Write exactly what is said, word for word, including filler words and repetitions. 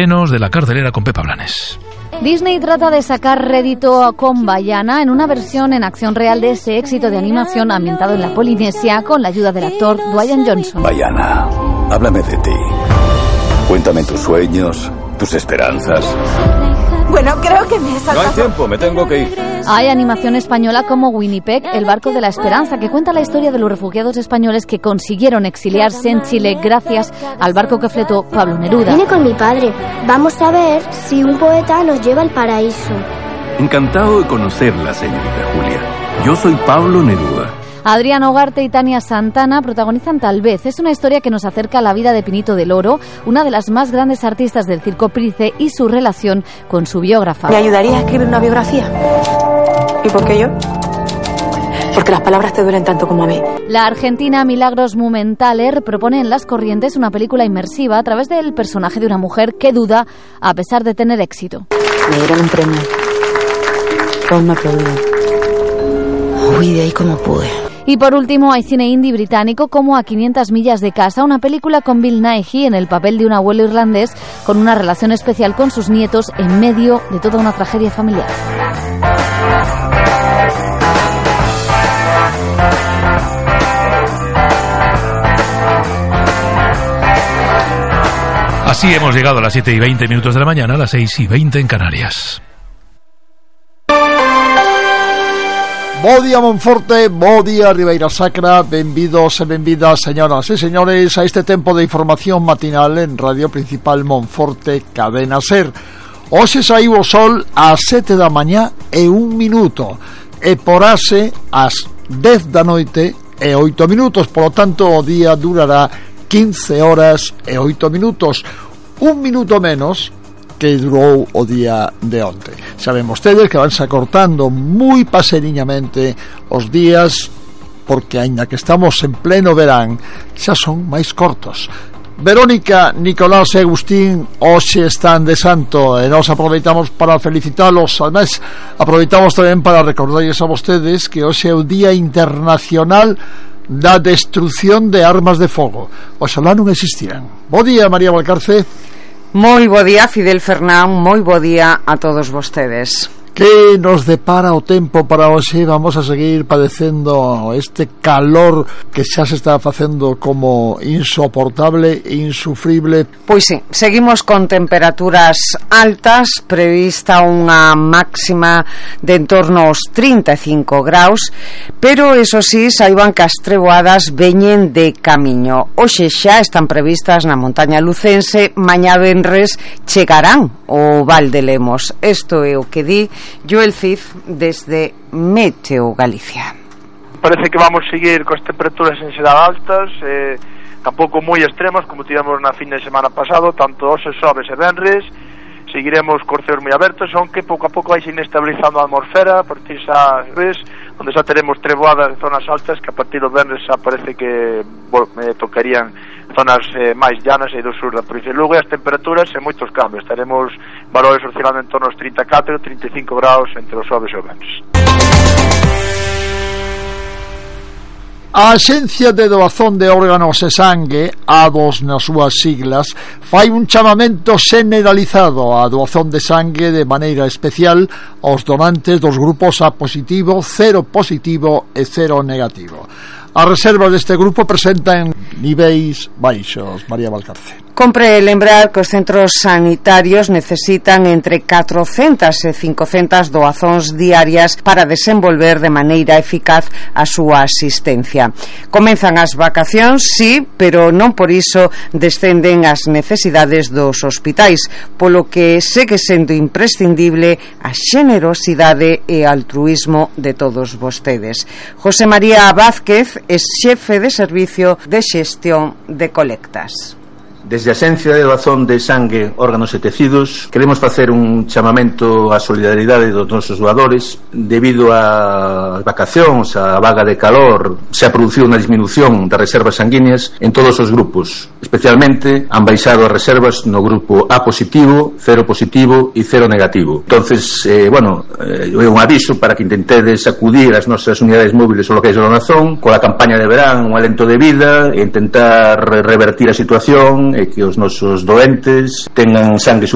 De la cartelera con Pepa Blanes. Disney trata de sacar rédito con Vaiana en una versión en acción real de ese éxito de animación ambientado en la Polinesia con la ayuda del actor Dwayne Johnson. Vaiana, háblame de ti. Cuéntame tus sueños, tus esperanzas. Bueno, creo que me he saltado. No hay tiempo, me tengo que ir. Hay animación española como Winnipeg, el barco de la esperanza, que cuenta la historia de los refugiados españoles que consiguieron exiliarse en Chile gracias al barco que fletó Pablo Neruda. Vine con mi padre. Vamos a ver si un poeta nos lleva al paraíso. Encantado de conocerla, señorita Julia. Yo soy Pablo Neruda. Adrián Ugarte y Tania Santana protagonizan Tal vez. Es una historia que nos acerca a la vida de Pinito del Oro, una de las más grandes artistas del circo Price, y su relación con su biógrafa. ¿Me ayudaría a escribir una biografía? ¿Y por qué yo? Porque las palabras te duelen tanto como a mí. La argentina Milagros Mumenthaler propone en Las Corrientes una película inmersiva a través del personaje de una mujer que duda a pesar de tener éxito. Me dieron un premio. Todos me aplaudieron. Huí de ahí como pude. Y por último hay cine indie británico como A quinientas millas de casa, una película con Bill Nighy en el papel de un abuelo irlandés con una relación especial con sus nietos en medio de toda una tragedia familiar. Así hemos llegado a las siete y veinte minutos de la mañana, a las seis y veinte en Canarias. Bo día Monforte, bo día Ribeira Sacra, benvidos e benvidas, señoras e señores, a este tempo de información matinal en Radio Principal Monforte, Cadena Ser. Hoxe saiu o sol ás sete da mañá e un minuto, e porase ás dez da noite e oito minutos, polo tanto o día durará quince horas e oito minutos, un minuto menos que durou o día de onte. Saben vostedes que vanse acortando moi paseniñamente os días, porque aínda que estamos en pleno verán, xa son máis cortos. Verónica, Nicolás e Agustín hoxe están de santo e nos aproveitamos para felicitalos. Ademais, aproveitamos tamén para recordarles a vostedes que hoxe é o Día Internacional da Destrucción de Armas de Fogo. Oxalá non existiran. Bo día, María Valcarce. Moi bo día, Fidel Fernán, moi bo día a todos vostedes. Que nos depara o tempo para hoxe? Vamos a seguir padecendo este calor que xa se está facendo como insoportable e insufrible. Pois sí, seguimos con temperaturas altas, prevista unha máxima de en torno aos trinta e cinco graus, pero eso sí, saiban que as treboadas veñen de camiño. Hoxe xa están previstas na montaña lucense, mañá venres chegarán ao Val de Lemos. Isto é o que di Joel Cid desde Meteo Galicia. Parece que vamos seguir coas temperaturas en xeral altas, eh, tampouco moi extremas como tivemos na fin de semana pasado, tanto hoxe, xoves e venres. Seguiremos cos ceos moi abertos, aunque pouco a pouco vai se inestabilizando a atmosfera, a partir xa ves, onde xa teremos treboadas de zonas altas que a partir do venres xa parece que bueno, me tocarían zonas eh, máis llanas e do sur da provincia de Lugo, e as temperaturas en moitos cambios. Estaremos valores oscilando en torno aos trinta e catro e trinta e cinco graus entre os xoves e os venres. A Axencia de Doazón de Órganos e Sangue, A D O S nas súas siglas, fai un chamamento generalizado á doazón de sangue de maneira especial aos donantes dos grupos A positivo, cero positivo e cero negativo. As reservas deste grupo presentan niveis baixos. María Valcarce. Compre lembrar que os centros sanitarios necesitan entre catrocentas e cincocentas doazóns diarias para desenvolver de maneira eficaz a súa asistencia. Comenzan as vacacións, sí, pero non por iso descenden as necesidades dos hospitais, polo que segue sendo imprescindible a xenerosidade e altruismo de todos vostedes. José María Vázquez é xefe de servicio de xestión de colectas. Desde a Axencia de Doazón de Sangue, Órganos e Tecidos queremos facer un chamamento á solidaridade dos nosos doadores. Debido ás vacacións, a vaga de calor, se ha producido unha disminución das reservas sanguíneas en todos os grupos. Especialmente han baixado as reservas no grupo A positivo, cero positivo e cero negativo. Entonces, eh, bueno, é eh, un aviso para que intentedes acudir ás nosas unidades móviles ou locais de donación coa campaña de verán, un alento de vida, e intentar revertir a situación e que os nosos doentes tengan sangue